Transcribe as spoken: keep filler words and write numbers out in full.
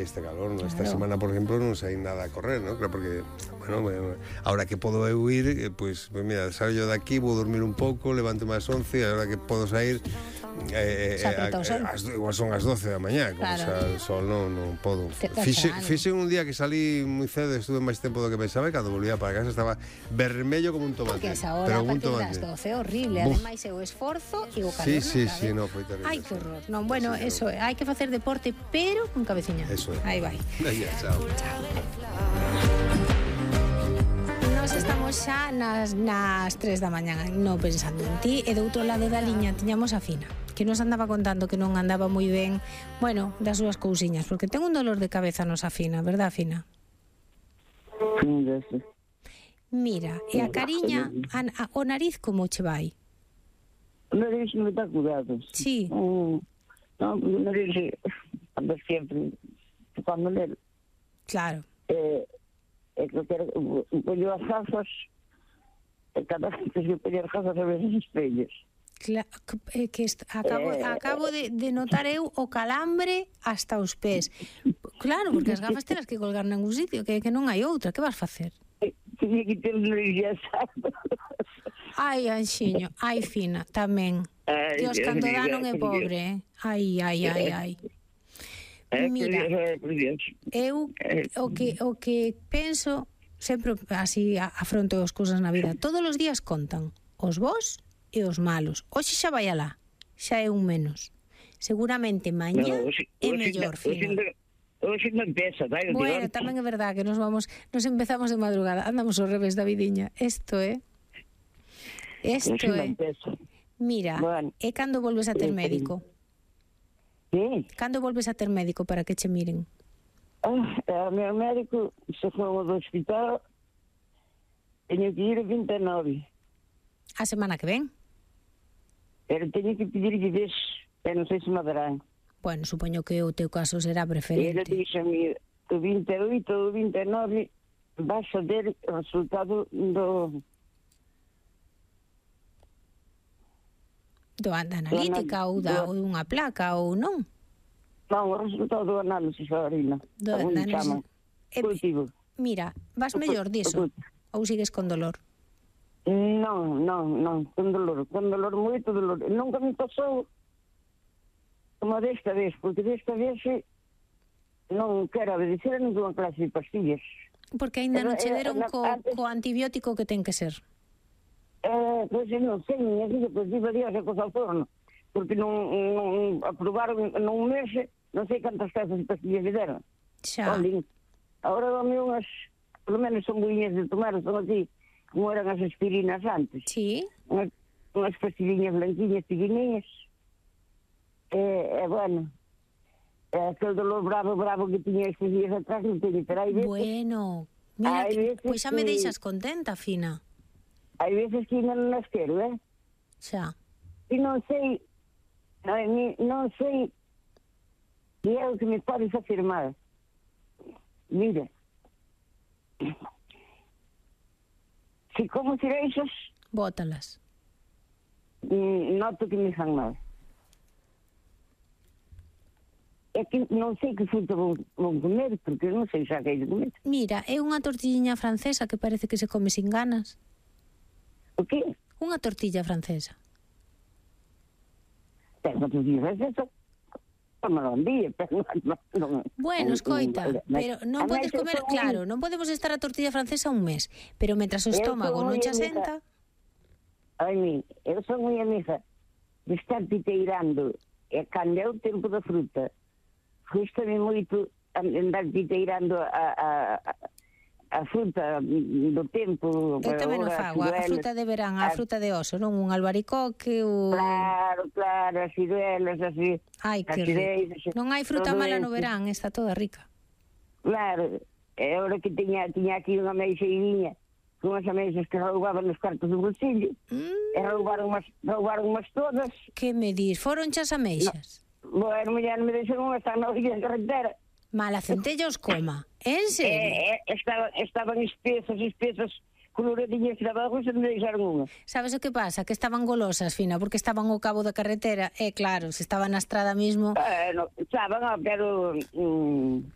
este calor, ¿no? Claro. Esta semana, por ejemplo, non saí nada a correr, ¿no? Claro, porque, bueno, bueno, ahora que podo eu ir, eh, pues, pues mira, salgo yo de aquí, vou dormir un pouco, levanto máis once, e ahora que podo sair, eh, eh, a, as, igual son as doce da mañá, como claro. Xa o sol non, non podo. Fixe, fixe un día que salí moi cedo, estuve máis tempo do que pensaba, e cando volvía para casa estaba vermello como un tomate. Porque esa hora, a partir das doce, é horrible. Buf. Ademais, é o esforzo e o calor. Sí, sí, sí, no, foi terrible. Ai, que horror. Non, bueno, sí, eso é, hai que facer deporte, pero con cabeciña. Eso é. Aí vai. Venga, chao. Chao. Nos estamos xa nas, nas tres da mañá, non pensando en ti, e do outro lado da liña tiñamos a Fina, que nos andaba contando que non andaba moi ben, bueno, das súas cousiñas, porque ten un dolor de cabeza nosa Fina, verdad, Fina? Sí. Mira, e a cariña, a, a, o nariz como che vai? O nariz non está curado. Sí. Um, non, o nariz anda sempre tocando nele. Claro. Eh, é que eu quero, ponho as gafas, e cada vez que eu ponho as gafas a ver os espellos. Claro, que, que est, acabo, eh, acabo de, de notar eu o calambre hasta os pés. Claro, porque as gafas telas que colgar ningún sitio, que, que non hai outra, que vas facer? Tiña que ter un nariz asado. Ai, Anxiño, ai, Fina, tamén. Ai, Dios, cando dá non é pobre, eh? Ai, ai, ai, ai. Mira, eu o que, o que penso, sempre así afronto as cousas na vida, todos os días contan os bons e os malos. Hoxe xa vai alá, xa é un menos. Seguramente mañá no, é mellor, Fina. Hoxe non empeza, vai? Bueno, tamén é verdad que nos vamos, nos empezamos de madrugada, andamos ao revés da vidiña. Isto é. Isto é. Mira, bueno, e cando volves a ter médico? Sí. Cando volves a ter médico para que che miren? Ah, o meu médico se foi do hospital, teño que ir a vinte e nove. A semana que ven? Pero teño que pedir que ves, pero non sei se me darán. Bueno, supoño que o teu caso será preferente. Ele dixe-me, o vinte e oito ou vinte e nove vas a ter o resultado do... Do da analítica ou da ou unha placa ou non? Non, o resultado do análisis da orina. Do análisis. Eh, mira, vas mellor diso? Ou sigues con dolor? Non, non, non, con dolor, con dolor, moito dolor. Nunca me pasou como desta vez, porque desta vez non quero obedecer a ninguna clase de pastillas. Porque ainda non che deron co, co antibiótico que ten que ser. Eh, pois non sei, minha filha, pois diva Dios é cosa ao forno, porque non, non aprobaron nun mes, non sei cantas casas de pastillas me deron. Xa. Olin, agora dame unhas, pelo menos son boinhas de tomar, son así, como eran as aspirinas antes. Sí. Unhas, unhas pastillinhas blanquinhas, pequenininhas. Eh, eh, bueno, eh, aquel dolor bravo, bravo que tiña estes días atrás, non teño, pero hai veces... Bueno, mira, que, pois xa me deixas contenta, Fina. Hai veces que non nas quero, eh? Xa. E non sei, non, non sei que é o que me podes afirmar. Mira, se como cereixas... Bótalas. Noto que me fan mal. É que non sei que fruta vou, vou comer, porque non sei xa que hai de comer. Mira, é unha tortilliña francesa que parece que se come sin ganas. O que? Unha tortilla francesa. Pero unha tortilla francesa non un día, pero non, non, bueno, escoita, non, pero non podes comer, claro, non podemos estar a tortilla francesa un mes, pero mentras o estómago non che asenta. Ai, mi, eu son moi amiga de estar titeirando, e cando é o tempo da fruta, custa-me moito andar titeirando a, a, a a fruta do tempo. Eu tamén o fago, a fruta de verán, a fruta de oso, non? Un albaricoque, un... Claro, claro, as ciruelas, así. Ai, que rico. Non hai fruta mala no verán, está toda rica. Claro, e agora que tiña, tiña aquí unha meixeirinha, con as ameixas que roubaban nos cartos do bolsillo, mm. e roubaron umas, roubaron umas todas. Que me dis? Foron chas ameixas? No, bueno, mulher, me deixaron unha, están na orilla da carretera. Mala centella os coma. En serio? Eh, eh, estaban, estaban espesas, espesas, coloradinhas de abajo, se me deixaron unha. Sabes o que pasa? Que estaban golosas, Fina, porque estaban ao cabo da carretera. E claro, se estaban na estrada mismo... Eh, no, estaban, pero... Mm,